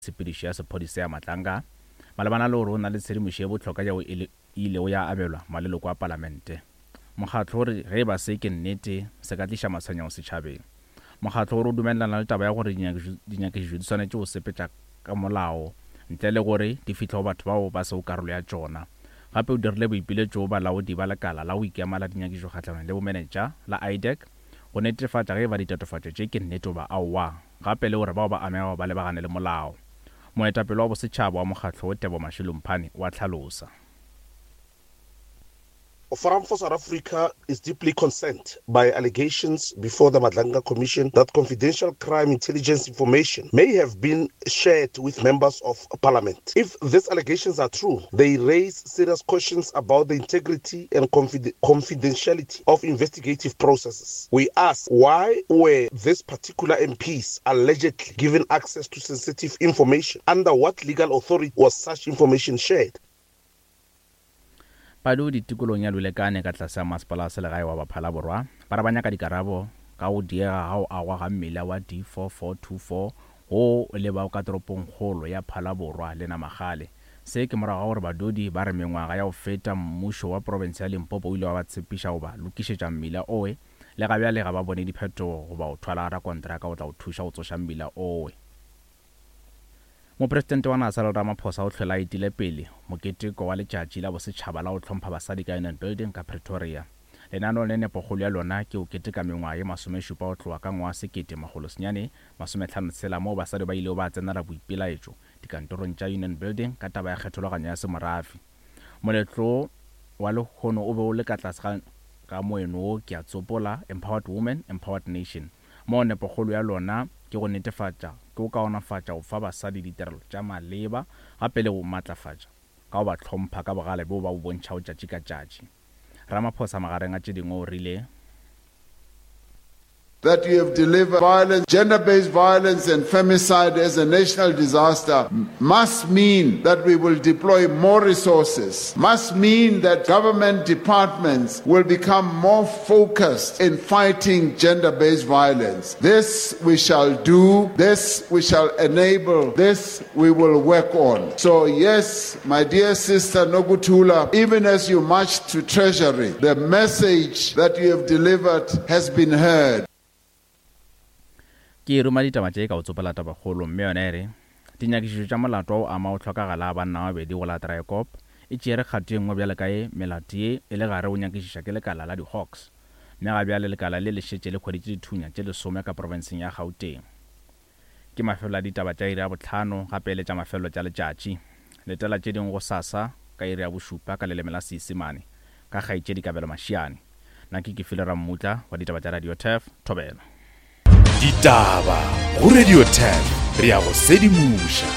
Tshepedišo ya sephodisa ya Matlanga malebana le gore o na le tshedimošo ye bohlokwa yeo e ilego ya abelwa maleloko a palamente. Mokgatlo o re ge e ba se ke nnete, se ka tliša matshwenyego setšhabeng. Mokgatlo o re o dumelelana le taba ya gore dinyakišišo di swanetše go sepetša ka molao ntle le gore di fihle go batho bao ba sego karolo ya tšona. Gape o dirile boipiletšo go balaodi ba lekala la go ikema la dinyakišišo kgahlanong le bomenetša la IDAC go netefatša ge e ba ditatofatšo tše ke nnete goba aowa, gape le gore bao ba amegago ba lebagane le molao. Moetapele wa bosetšhaba wa mokgatlo wo Tebo Mashilo Mphane o a hlalosa. Forum for South Africa is deeply concerned by allegations before the Madlanga Commission that confidential crime intelligence information may have been shared with members of parliament. If these allegations are true, they raise serious questions about the integrity and confidentiality of investigative processes. We ask why were these particular MPs allegedly given access to sensitive information? Under what legal authority was such information shared? Badudi tikolong ya Lulekane ka tlase ga Masepala wa Selegae wa Baphala-Borwa ba re ba nyaka dikarabo ka go diega ga go agwa ga mmila wa D4424 wo o lebago ka toropongkgolo ya Phalaborwa le Namagale. Se ke morago ga gore badudi ba re mengwaga ya go feta mmušo wa profense ya Limpopo o ile wa ba tshepiša go ba lokišetša mmila owe le ga bjale ga ba bone diphetogo goba go thwala rakontraka go tla go thuša go tsoša mmila owe. Mopresidente wa naga Cyril Ramaphosa o hlwele a etile pele moketeko wa Letšatši la Bosetšhaba la go Hlompha Basadi ka Union Building ka Pretoria. Lenaneo le nepokgolo ya lona ke go keteka mengwaga ye masomešupa go tloga ka ngwaga 1956 moo basadi ba ilego ba tsenela boipelaetšo dikantorong tša Union Building ka taba ya kgethologanyo ya semorafe. Moletlo wa lehono o be o le ka tlase ga ga moeno wo ke a tsopola, Empowered Women, Empowered Nation, moo nepokgolo ya lona ke go netefatša ke go kaonafatša go fa basadi ditirelo tša maleba gape le go matlafatša ka go ba hlompha ka bogale bjo ba bo bontšhago tšatši ka tšatši. Ramaphosa magareng a tše dingwe o rile. That you have delivered violence, gender based violence, and femicide as a national disaster must mean that we will deploy more resources, must mean that government departments will become more focused in fighting gender based violence. This we shall do, this we shall enable, this we will work on. So, yes, my dear sister Nokuthula, even as you march to Treasury, the message that you have delivered has been heard. Ke ruma ditaba tše ka go tsopola tabakgolo mme yona e re, Dinyakišišo tša molato wa go ama go hlokagala ga banna ba babedi go la Draaiekop e tšeere kgato ye nngwe bjalo ka ye melato ye e le gare go nyakišiša ke lekala la di-Hawks mme ga bjale lekala le le šetše le hweditše dithunya tše lesome ka profenseng ya Gauteng. Ke mafelelo a ditaba tša iri ya bohlano gape e le tša mafelelo tša letšatši. Letela tše dingwe gosasa ka iri ya bošupa ka leleme la Seisemane ka kgaetšedi Kabelo Mashiane. Nna ke Kefilwe Rammutla wa ditaba tša Radio Turf, Thobela. Ditaba go Radio Turf, re a go sedimoša.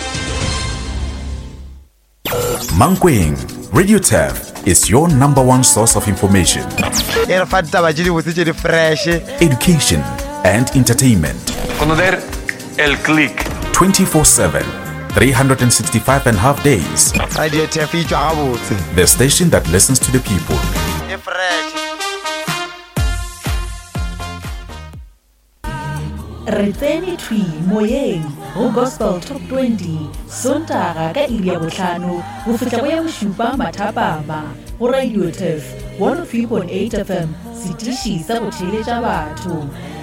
Mankweng, Radio Turf is your number one source of information. E re fa ditaba tše dibotse tše di fresh. Education and entertainment. Conocer el click. 24/7, 365 and half days. Radio Turf e tšwa gabotse. The station that listens to the people. E fresh. Re tsene thwi moyeng go Gospel Top 20 Sontaga ka iri ya bohlano go fihla go ya bošupa mathapama go Radio Turf 103.8 FM, setiši sa go theeletša batho.